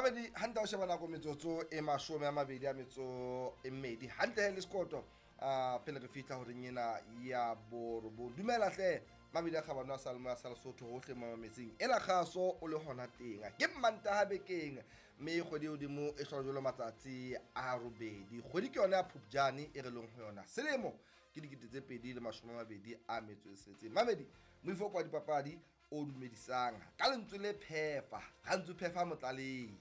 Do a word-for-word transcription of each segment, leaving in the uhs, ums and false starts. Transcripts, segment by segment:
Mamedi hantle o sheba nako metsotso e mashome a mabedi a metso e mmedi hantle le sekoto a pele re fihla horeng ena ya borobong. Dumela hle mabedi a kgabano a Salmo ya sa Lesotho hohle mo mametseng ena kgaso o le hona teng. Ke Mantaha bekeng mme kgwedi e hodimo e hlola jwalo matsatsi a robedi. Kgwedi ke yona ya Phupjane e re leng ho yona. Selemo ke dikete tse pedi le mashome a mabedi a metso e tsheletseng. Mamedi moifo kwa dipapadi o dumedisang ka lentswe le phefa, ga phefa motlalei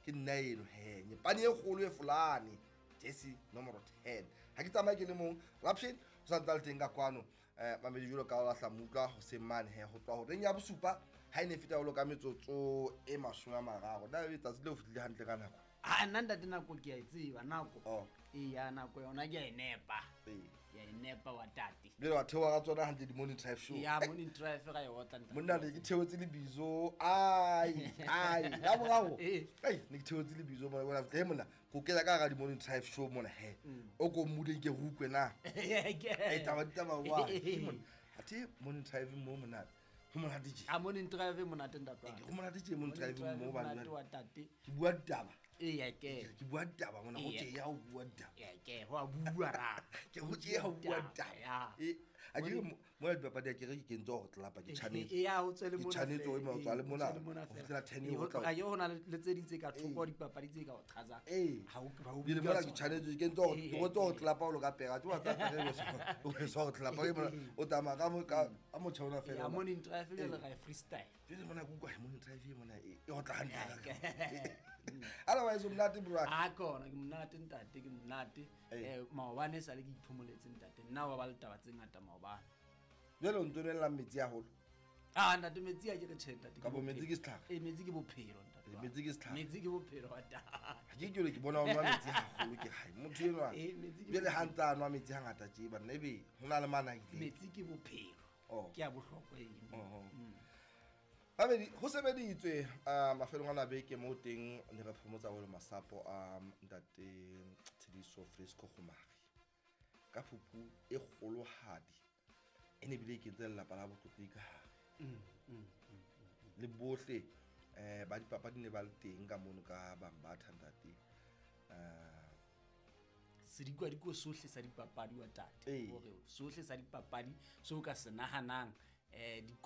ke nna eno he nyepane e kgolo e folane jesi nomoro ten. Ha ke tsamaye ke le mong Rapshin o sa ntse a le teng ka kwano eh mamedi jwalo ka o lahla mutlwa hoseng mane he ho tloha horeng ya bosupa ha e ne feta jwalo ka metsotso e mashome a mararo. Na ebe tsatsi leo fihlile hantle ka nako? A nna ntate nako ke a e tseba nako. Oh. Eya nako yona ke a e nepa. Ee. Ke a e nepa wa tate. Jwale wa theoha ka tsona hantle di-morning drive show. Ya morning drive ra e otla ntate. Monna ne ke theotse lebitso ai ai la boraro. Ee. Ai ne ke theotse lebitso mona bona he monna ko kena ka hara di-morning drive show mona he. O ko mmudeng ke rukwe na. Ai taba ditaba wa. Monna athe morning drive mo monate. Ho monate tje. A morning drive monate ntate wa. Ho monate tje morning drive mo ba monate wa tate. Ke bua ditaba. Eya ke. Ke bua ditaba mona ho tje ya ho bua ditaba. Eya ke ho a bua ra. Ke ho tje ya ho bua ditaba. Ya. E a ke mona dipapadi a ke re ke kentse hore tlelapa ke tshwanetse. Eya ho tswele Ke mona. tshwanetse o ema o tswa le mona. Ho tswele mona Ho fela. fihlela ten Ee, o tla. A ke ho na le tse ding tse ka thoko dipapadi tse ka o qhatsang. Ee. Ha o ha o Bile bua mona ke tsona. tshwanetse ke ntse hore Ee, ke ngotse hore ee. tlelapa o lo ka pera. Ke wa tsa pera o so hore tlelapa ke mona o tsamaya ka mo ka ka motjha ona fela. Ya morning drive jwale ra e freestyle. Jwale mona ke utlwa morning drive e mona e e otla hantle. Otherwise o monate bro. A kona ke monate ntate ke monate. Ee. Eh maobane e sale ke iphomoletse ntate. Nna wa ba le taba tse ngata maobane. Jwale o ntso nwella metsi haholo. Ah ntate metsi a ke re tjhe ntate. Kapa metsi ke setlhare? Eh metsi ke bophelo ntate. Eh, metsi ke setlhare. Metsi ke bophelo wa tate. Ha ke ke ke bona o nwa metsi haholo ke hae. Motho enwa. Eh, metsi ke Jwale ha ntse a nwa metsi hangata tje banna ebe ho na le mana ile. Metsi ke bophelo. Oh. Ke a bohlokwa eno. Oh. Babedi ho sebeditswe a mafelong a beke mo teng ne re phomotsa holo masapo a ntate Tshediso Fresco Gomari. Ka phupu e kgolohadi e ne bile ke ntse lelapa la botlotlegi ka hare. Mm, mm, mm, mm. Le bohle eh ba dipapadi ne ba le teng ka mono ka bang ba ntate. Eh Sedikwadiko sohle sa dipapadi wa tate. Ee. Hore sohle sa dipapadi so ka se nahanang eh di